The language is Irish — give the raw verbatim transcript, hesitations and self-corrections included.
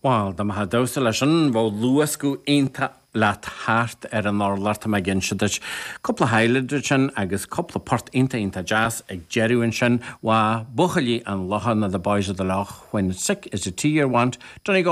Well, dá mbeifeá ag damhsa leis sin bheadh luascadh iontach leat thart ar an urlár tá mé ag inse duit. Cúpla highlight sin agus cúpla port iontach iontach deas ag deireadh ansin wá Buachaillí an Locha na The Boys of the Lough when sick is the tea you want, Donegal